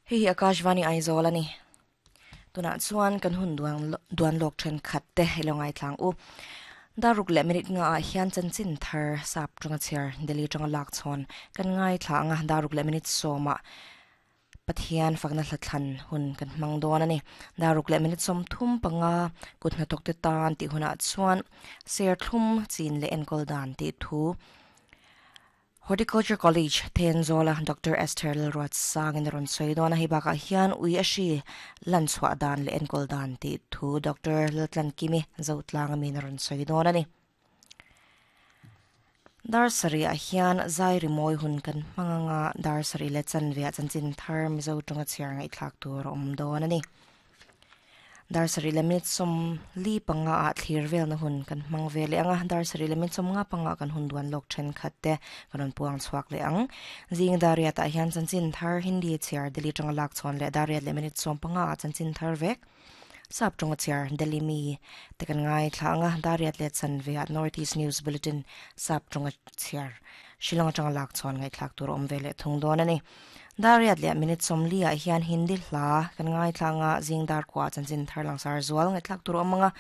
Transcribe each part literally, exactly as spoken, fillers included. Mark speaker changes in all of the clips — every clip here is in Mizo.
Speaker 1: Hei hi Akashvani Aizawl ani. Tunah chuan kan hun duan duan lawk thenkhat te ilo ngaithlang u. Daruk leh minute nga ah hian chanchin thar sap tanga chhiar Delhi tanga lak chhawn kan ngaithla anga daruk leh minute sawmah Pathian fakna hla thlan hun kan hmang dawn ani. Daruk leh minute sawm thum panga kut hnathawk te tan tih hunah chuan serthlum chin leh enkawl dan tih thu Horticulture College Thenzawl a Doctor Esther Lalruatsangin a rawn sawi dawn a, hei bakah hian ui a hri lan chhuah dan leh enkawl dan tih thu Doctor Laltlankimi Zotlang amin a rawn sawi dawn a ni. Dar sarih ah hian zai rimawi hun kan hmang anga dar sarih leh chanve ah chanchin thar Mizo tawnga chhiar ngaihthlak tur a awm dawn a ni. Dar sarih leh minute sawm li panga ah thlir velna hun kan hmang ve leh anga dar sarih leh minute sawm nga panga kan hun duan lawk thenkhat te kan rawn puang chhuak leh ang. Zing dariat ah hian chanchin thar Hindi chhiar Delhi tanga lak chhawn leh dariat leh minute sawm panga ah chanchin thar vek sap tawnga chhiar Delhi mi te kan ngaithla anga dariat leh chanve ah North East News Bulletin sap tawnga chhiar Shillong atanga lak chhawn ngaihthlak tur a awm ve leh thung dawn a ni. Dariat leh minute sawmli ah hian Hindi hla kan ngaithla anga zing dar kua chanchin thar langsar zual ngaihthlak tur a awm anga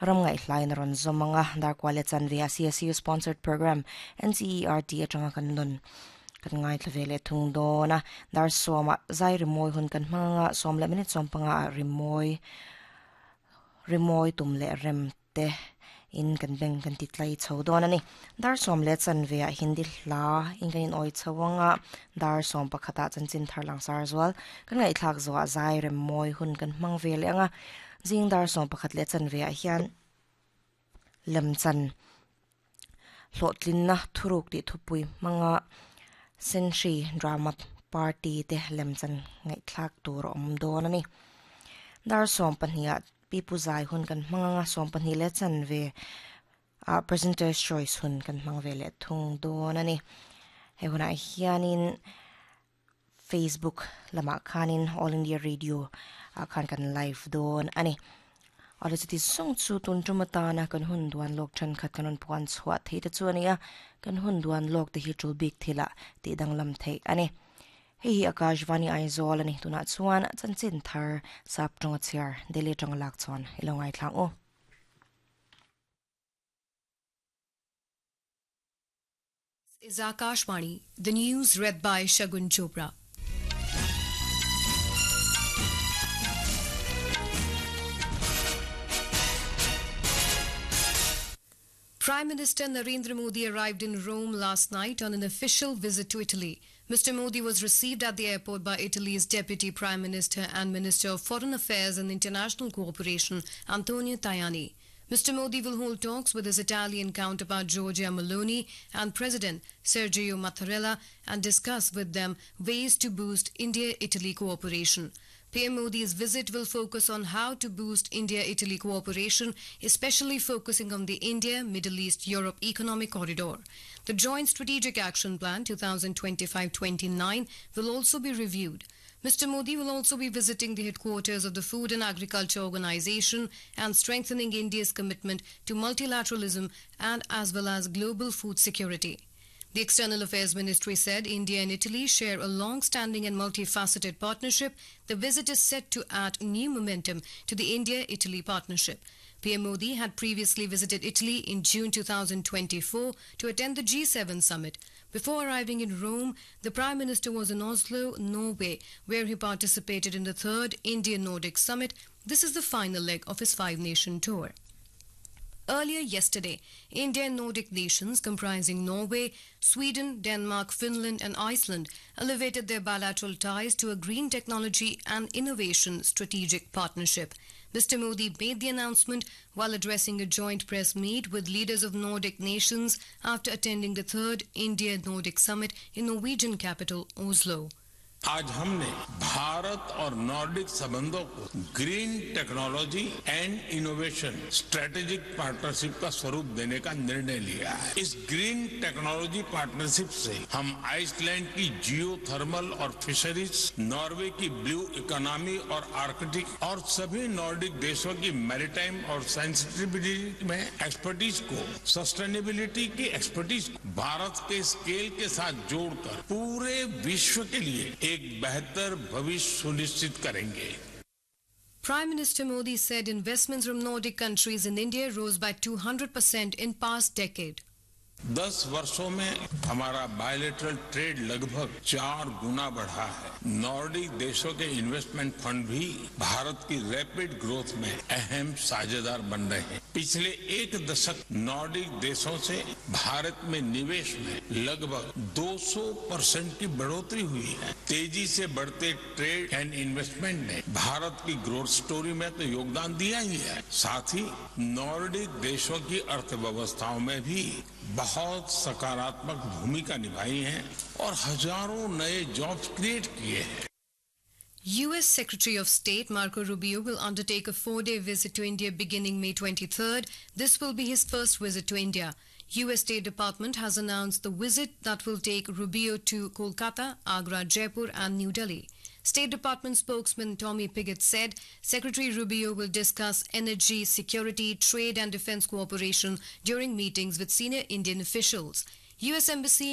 Speaker 1: ram ngaihthlain a rawn zawm anga dar kua leh chanve ah C S U sponsored program N C E R T atanga kan nawn kan ngaithla ve leh thung dawn a. Dar sawmah zai rimawi hun kan hmang anga sawm leh minute sawm panga ah rimawi rimawi tum leh rem te in kan beng kan ti tlai chho dawn a ni. Dar sawm leh chanve ah Hindi hla in kan in awi chho anga dar sawm pakhatah chanchin thar langsar zual kan ngaihthlak zawh zai rem mawi hun kan hmang ve leh anga zing dar sawm pakhat leh chanve ah hian lemchan hlawhtlinna thuruk tih thupui hmanga Senhri Drama Party te lemchan ngaihthlak tur a awm dawn a ni. Dar sawm pahnih ah pipu zai hun kan hmang anga sawm pahnih leh chanve ah Presenter's Choice hun kan hmang ve leh thung dawn a ni. Hei hunah hianin Facebook lamah khanin All India Radio ah khan kan live dawn a ni. Awle chuti zawng chu tun tum atana kan hun duan lawk thenkhat kan rawn puan chhuah thei te chu a ni a, kan hun duan lawk te hi tul bik thil ah tih danglam theih a ni. Hei hi Akashvani Aizawl a ni. Tunah chuan chanchin thar sap tawnga chhiar Delhi tanga lak chuan ilo ngaithlang u.
Speaker 2: Is Akashvani, the news read by Shagun Chopra. Prime Minister Narendra Modi arrived in Rome last night on an official visit to Italy. Mister Modi was received at the airport by Italy's Deputy Prime Minister and Minister of Foreign Affairs and International Cooperation, Antonio Tajani. Mister Modi will hold talks with his Italian counterpart Giorgia Meloni and President Sergio Mattarella and discuss with them ways to boost India-Italy cooperation. P M Modi's visit will focus on how to boost India-Italy cooperation, especially focusing on the India-Middle East-Europe Economic Corridor. The Joint Strategic Action Plan twenty twenty-five twenty-nine will also be reviewed. Mister Modi will also be visiting the headquarters of the Food and Agriculture Organization and strengthening India's commitment to multilateralism and as well as global food security. The External Affairs Ministry said India and Italy share a long-standing and multifaceted partnership. The visit is set to add new momentum to the India-Italy partnership. P M Modi had previously visited Italy in June twenty twenty-four to attend the G seven summit. Before arriving in Rome, the Prime Minister was in Oslo, Norway, where he participated in the third India-Nordic summit. This is the final leg of his five-nation tour. Earlier yesterday, India and Nordic nations comprising Norway, Sweden, Denmark, Finland and Iceland elevated their bilateral ties to a green technology and innovation strategic partnership. Mister Modi made the announcement while addressing a joint press meet with leaders of Nordic nations after attending the third India-Nordic summit in Norwegian capital Oslo.
Speaker 3: आज हमने भारत और Nordic संबंधों को green technology and innovation strategic partnership का स्वरूप देने का निर्णय लिया है। इस green technology partnership से हम आइसलैंड की जियो थर्मल और फिशरीज, नॉर्वे की ब्लू इकोनॉमी और आर्कटिक और सभी नॉर्डिक देशों की मैरीटाइम और सेंसिटिविटी में एक्सपर्टीज को, सस्टेनेबिलिटी की एक्सपर्टीज भारत के स्केल के साथ जोड़कर पूरे विश्व के लिए एक एक बेहतर भविष्य सुनिश्चित करेंगे
Speaker 2: Prime Minister Modi said investments from Nordic countries in India rose by two hundred percent in past decade.
Speaker 3: दस वर्षों में हमारा बायलैटरल ट्रेड लगभग चार गुना बढ़ा है। नॉर्डिक देशों के इन्वेस्टमेंट फंड भी भारत की रैपिड ग्रोथ में अहम साझेदार बन रहे हैं। पिछले एक दशक नॉर्डिक देशों से भारत में निवेश में लगभग दो सौ परसेंट की बढ़ोतरी हुई है। तेजी से बढ़ते trade and investment ने भारत की ग्रोथ स्टोरी में तो योगदान दिया ही है, साथ ही नॉर्डिक देशों की अर्थव्यवस्थाओं में भी बहुत सकारात्मक भूमिका निभाई है और हजारों नए जॉब्स क्रिएट किए हैं।
Speaker 2: U S. Secretary of State Marco Rubio will undertake a four-day visit to India beginning May twenty-third. This will be his first visit to India. U S. State Department has announced the visit that will take Rubio to Kolkata, Agra, Jaipur and New Delhi. State Department spokesman Tommy Piggott said Secretary Rubio will discuss energy, security, trade and defense cooperation during meetings with senior Indian officials. U S. Embassy in